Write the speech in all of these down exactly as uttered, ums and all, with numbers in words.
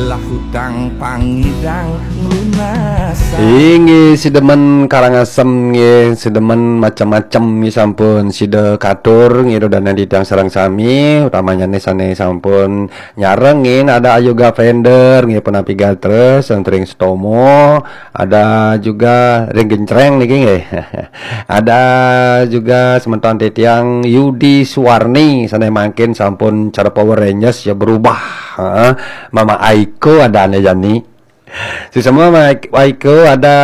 Lah hutang pangidang lunas. Inggih, si demen Karangasem nggih, si demen macem-macem nggih sampun sida katur nggih, dudonan titiang sareng sami, utamanyane sane sampun nyarengin, ada Ayoga Fender nggih, punapi gatra, Sentring Setomo, ada juga Ring Gencreng niki nggih. Ada juga semeton titiang Yudi Suwarni, sane mangkin sampun cara Power Rangers ya berubah. Heeh. Mama Aiko ada ane jani. Suksema Mama Aiko, ada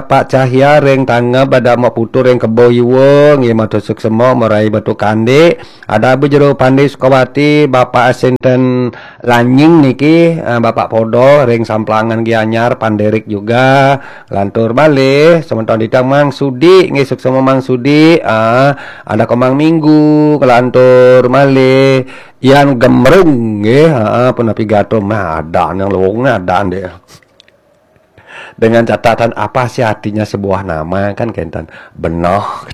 Pak Cahya ring Tangeb, ada Mak Putu ring Kebo Iwa, nggih matur suksema, Marai Batu Kandik, ada Bu Jero Pandi Sukawati, Bapak Asinten Lanying niki, eh, Bapak Podo ring Samplangan Gianyar, Panderik juga, lantur malih, semeton titiang Mang Sudi, nggih suksema Mang Sudi, ah, ada Komang Minggu, kelantur malih, Yan Gemrung, nggih, heeh, punapi gatra, mah ada yang lowong ada deh. Dengan catatan apa sih artinya sebuah nama kan kenten. Benoh.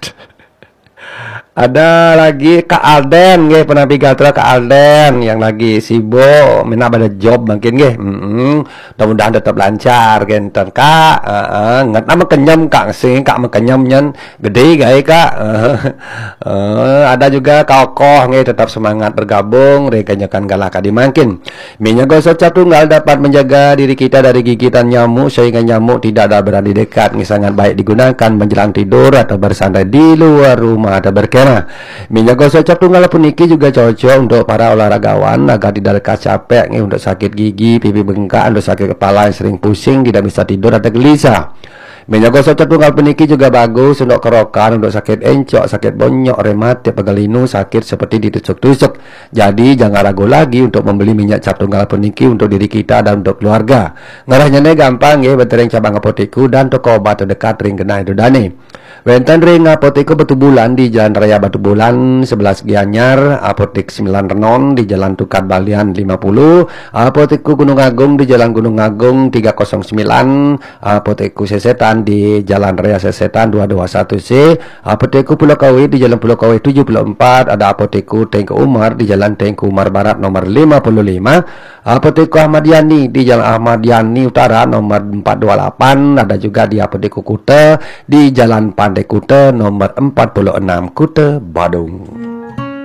Ada lagi Kak Alden nggih, punapi gatra Kak Alden yang lagi sibuk, minab ada job mungkin nggih. Mm-mm. Mudah-mudahan tetap lancar kenten Kak. Heeh, nget nama kenyem Kak sing Kak mekenyem nyen gede gae Kak. Eh, ada juga Kak Okoh nggih, tetap semangat bergabung ring kenyekan galah kadi mangkin. Minyak gosok cap tunggal dapat menjaga diri kita dari gigitan nyamuk sehingga nyamuk tidak ada berani dekat. Ini sangat baik digunakan menjelang tidur atau bersantai di luar rumah atau berkemah. Minyak gosok cap tunggal puniki juga cocok untuk para olahragawan agar tidak lekas capek nih, untuk sakit gigi, pipi bengkak, untuk sakit kepala yang sering pusing, tidak bisa tidur atau gelisah. Minyak gosok cap tunggal puniki juga bagus untuk kerokan, untuk sakit encok, sakit bonyok, rematik, pegal linu, sakit seperti ditusuk-tusuk. Jadi jangan ragu lagi untuk membeli minyak cap tunggal puniki untuk diri kita dan untuk keluarga. Ngarahnya gampang nggih, wenten ring cabang Apotiku dan toko obat terdekat ring genah ida dane. Wenten ring Apotiku Batubulan di Jalan Raya Batubulan sebelas Gianyar, Apotik Sembilan Renon di Jalan Tukad Balian lima puluh, Apotiku Gunung Agung di Jalan Gunung Agung tiga kosong sembilan, Apotiku Sesetan di Jalan Raya Sesetan dua dua satu C, Apotiku Pulau Kawe di Jalan Pulau Kawe tujuh puluh empat, ada Apotiku Tengku Umar di Jalan Tengku Umar Barat nomor lima puluh lima, Apotiku Ahmad Yani di Jalan Ahmad Yani Utara nomor empat dua lapan, ada juga di Apotiku Kuta di Jalan Pantai Kuta nomor empat puluh enam, Kuta Badung.